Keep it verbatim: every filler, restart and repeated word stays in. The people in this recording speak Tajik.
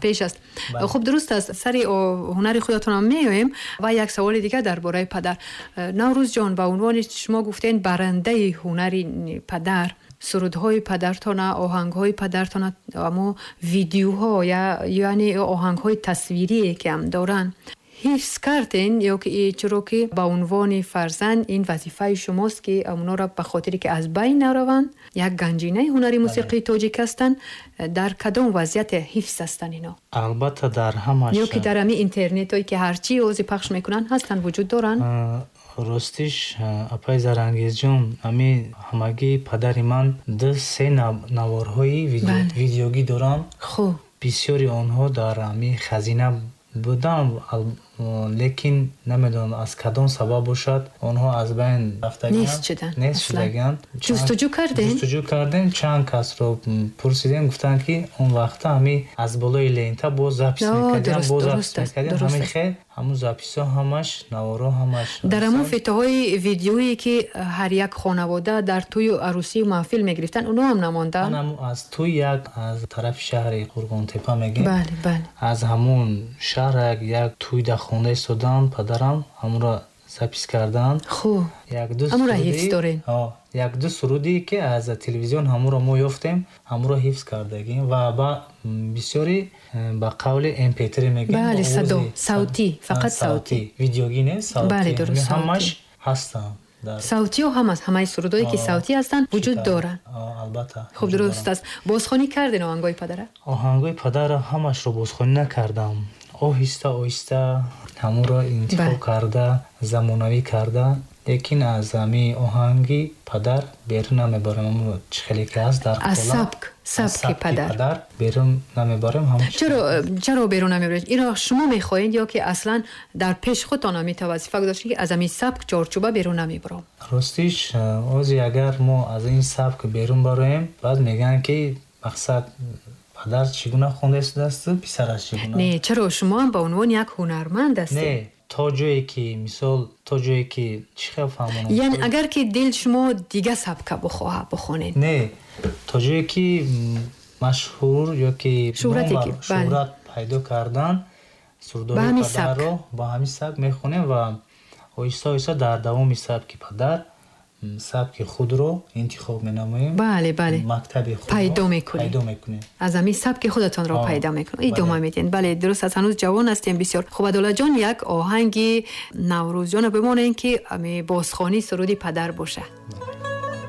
Пеш аст. Хуб, дуруст аст, сари ҳунари худатонам меоем. Ва як саволи дигар дар бораи падар. Наврӯзҷон, ба унвони шумо гуфтен барандаи ҳунари падар, сурудҳои падартона, оҳангҳои падартона, амо видеоҳо, яъне оҳангҳои тасвирие ки ҳам доранд, ҳифз карден ё ки чаро ки ба унвони фарзанд ин вазифаи шумост ки онҳоро ба хотире ки аз байн нараванд, як ганҷинаи ҳунари мусиқии тоҷик ҳастанд, дар кадом вазъият ҳифз ҳастанд ино? Албатта, дар ҳамаш. Ё ки дар ҳамин интернетҳое ки ҳарчи ози пахш мекунанд, ҳастанд, вуҷуд доранд? Ростиш, апаи Зарангезҷон, ҳами ҳамагӣ падари ман ду се наворҳои видеогӣ дорам. Хуб. Бисёри онҳо дар ҳами хазина будам, лекин намедонам аз кадом сабаб бошад, онҳо аз байн рафтагианд, нест шудагианд. Ҷустуҷӯ кардем? Ҷустуҷӯ кардем, чанд касро пурсидем, гуфтанд ки он вақта ҳами аз болои лента боз запис мекардем, боз запис мекардем, ҳамин хел ҳамун записҳо ҳамаш, наворҳо ҳамаш. Дар ҳамон фитоҳои видеое ки ҳар як хонавода дар тӯю арӯсию маҳфил мегирифтанд, онҳо ҳам намонданд? Аз тӯй як аз тарафи шаҳри Қурғонтепа мегем. Бале, бале. Аз ҳамун шаҳр як тӯй дар хонда истодам, падарам ҳамонро запис карданд. Хуб. Ҳамонро ҳифз доред? Як ду суруде ки аз телевизион ҳамонро мо ёфтем, ҳамонро ҳифз кардагим ва ба бисёри ба қавли эм пи три мегем. Бале, садо, савтӣ, фақат савтӣ. Видеогӣ не, савтӣ. Бале, дуруст, ҳамаш ҳастанд. Савтиҳо ҳам аст, ҳамаи сурудҳое ки савтӣ ҳастанд вуҷуд доранд. Албатта. Хуб, дуруст аст. Бозхонӣ кардед оҳангҳои падара? Оҳангҳои падара ҳамашро бозхонӣ накардам. Оҳиста оҳиста ҳамонро интихоб карда, замонавӣ карда, лекин аз ҳамин оҳанги падар берун намебарем. Ҳамон чӣ хеле ки ҳаст дар аз сабк, сабки падар. Падар берун намебарем. Чаро, чаро берун намебаред? Инро шумо мехоҳед ё ки аслан дар пеш худтон ҳамин вазифа гузоштед ки аз ҳамин сабк чорчӯба берун намебарам? Ростиш, ози агар мо аз ин сабк берун бароем, баъд мегӯянд ки мақсад падар чӣ гуна хонда истодааст, писараш чӣ гуна? Не, чаро шумо ҳам ба унвони як ҳунарманд ҳастед? Не, то ҷое ки мисол, то ҷое ки чӣ хел фаҳмонам? Яъне агар ки дил шумо дига сабка бихоҳа бихонед? Не, то ҷое ки машҳур ё ки шӯҳрат пайдо кардан, сурудҳои падарро ба ҳамин сабк мехонем ва оҳиста оҳиста дар давоми сабки падар сабки худро интихоб менамоем. Бале, бале. Мактаби худро пайдо мекунем. Пайдо мекунем. Аз ҳамин сабки худатонро пайдо мекунем. Идома медиҳем. Бале, дуруст аст, ҳанӯз ҷавон ҳастем бисёр. Хуб, Адолатҷон, як оҳанги Наврӯзҷонро бимонем ки ҳамин бозхонии суруди падар боша.